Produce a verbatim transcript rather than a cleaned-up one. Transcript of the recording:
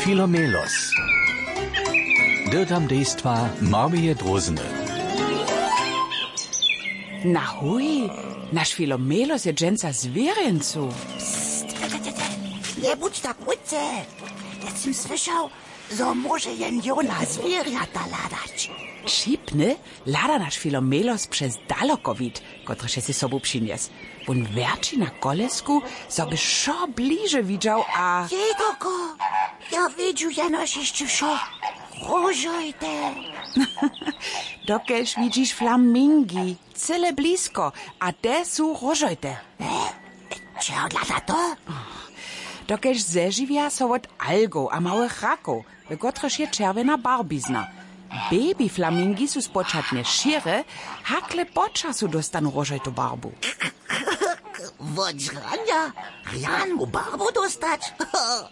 Filomelos. Dyrtam dejstwa Marmije Drózny. Na huj, naš Filomelos je dźensa zwěrjencu. Pst, te, te, te, te. Njebudź tak krótce. Te sym słyšał, zo móže jen jona zwěrjata hladać. Wšipny hlada naš Filomelos přez dalokowid, kotryž je sej sobu přinjes. Wón wjerći na kolesku, zo by wšo bliže widźał a... Jejkoko, ja widźu jenož hišće wšo. Róžojte. Dokelž widźiš flamingi, cyle blisko, a te su róžojte. Čehodla za to? Dokelž zežiwja so wot algow a małych rakow, w kotrychž je čerwjena barbizna. Baby flamingi su spočatnje šěre, hakle po času dóstanu róžojtu barbu. Wot žranja rjanu barbu dóstać?